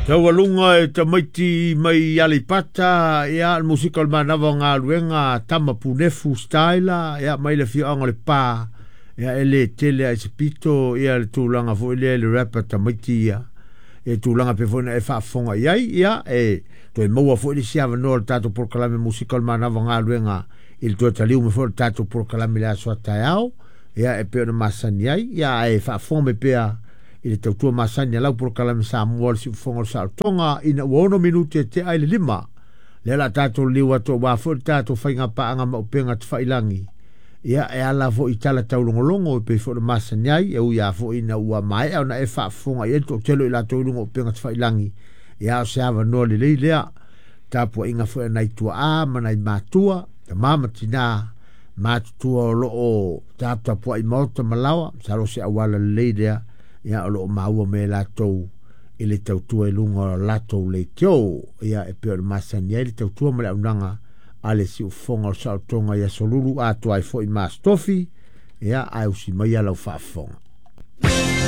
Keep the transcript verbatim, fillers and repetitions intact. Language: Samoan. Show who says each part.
Speaker 1: Taualuga e tamaiti mai Aleipata, ia le musika o le manava o galuega tama punefu style, ia mai le afioaga o Lepa, ia e le tele ai se pito ia le tulaga foi lea i le rap a tamaiti ia e tulaga pe foi na e faafofoga i ai, ia e toe maua foi le isi avanoa o le tatou polokalame musika o le manava o galuega i le toe taliu mai foi o le tatou polokalame i le aso a taeao, ia e pei ona masani ai, ia ae faafofoga mai pea i le tautua masani a lau polokalame Samoa o le Siufofoga o le Saolotoga ina ua ono minute te ai le lima. Lea la tatou liu atu aua foi le tatou faiga paaga ma upega tafailagi. Ia e ala foi i tala taulogologo e pei foi ona masani ai, e ui lava foi ina ua maea ona e faafofoga i ai le toatele o i latou i luga o upega tafailagi. Ia o se avanoa lelei lea, tapuaiga foi a nai tuaa ma nai matua, tama ma tina matutua o loo taputapuai maota ma laoa, masalo se auala lelei lea, ia o loo maua mai e latou i le tautua i luga o latou leitio. Ia e pei ona masani ai le tautua ma le auaunaga a le Siufofoga o le Saolotoga i aso Lulu atoa ai foi ma Aso Tofi, ia ae usi mai lau faafofoga.